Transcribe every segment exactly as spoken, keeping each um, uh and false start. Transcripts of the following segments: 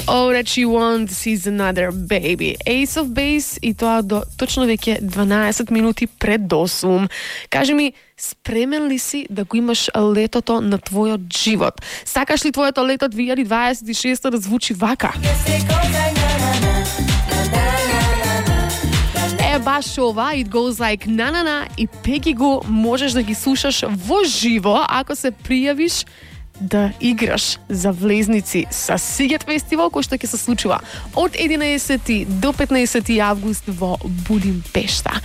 All That She Wants Is Another Baby. Ace of Base и тоа до точно веќе дванаесет минути пред осум. Кажи ми, спремен ли си да го имаш летото на твојот живот? Сакаш ли твоето лето две илјади дваесет и шеста да звучи вака? Е, баш ова, It Goes Like Na-Na-Na и Peggy Gou можеш да ги слушаш во живо ако се пријавиш да играш за влезници со Сигет фестивал, кој што ќе се случува од единаесети до петнаесети август во Будимпешта.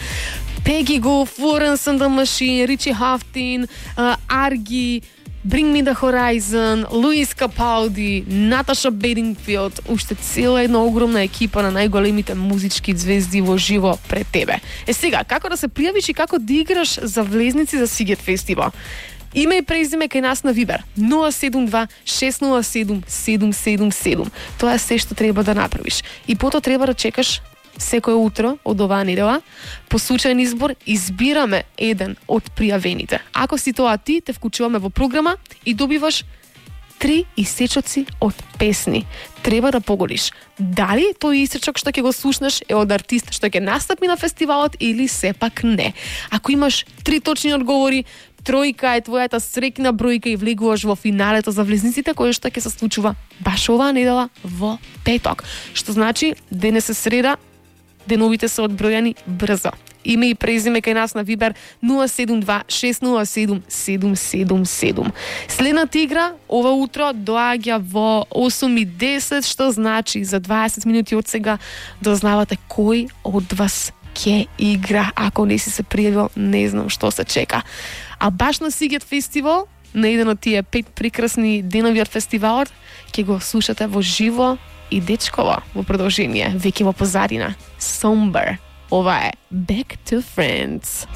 Peggy Gou, Florence and the Machine, Richie Houghton, uh, Argy, Bring Me the Horizon, Luis Capaldi, Natasha Bedingfield, уште цела една огромна екипа на најголемите музички звезди во живо пред тебе. Е сега, како да се пријавиш и како да играш за влезници за Сигет фестивал? Име и презиме кај нас на Вибер нула седум два шест нула седум седум седум седум. Тоа е се што треба да направиш. И потоа треба да чекаш секој утро од оваа недела. По случајен избор избираме еден од пријавените. Ако си тоа ти, те вклучуваме во програма и добиваш три исечоци од песни. Треба да погодиш дали тој исечок што ќе го слушнеш е од артист што ќе настапи на фестивалот или сепак не. Ако имаш три точни одговори, тројка е твојата среќна бројка и влегуваш во финалето за влезниците, кој што ќе се случува баш оваа недела во петок. Што значи денес е среда, деновите се одбројани брзо. Име и презиме кај нас на Вибер нула седум два шест нула седум седум седум седум. Следната игра ова утро доаѓа во осум и десет, што значи за дваесет минути од сега дознавате кој од вас ќе игра. Ако не си се пријавил, не знам што се чека. А баш на Сигет фестивал, на еден од тие пет прекрасни денови од фестивалот, ќе го слушате во живо и дечково во продолжение, веќе во позадина. Somber. Ова е Back to Friends.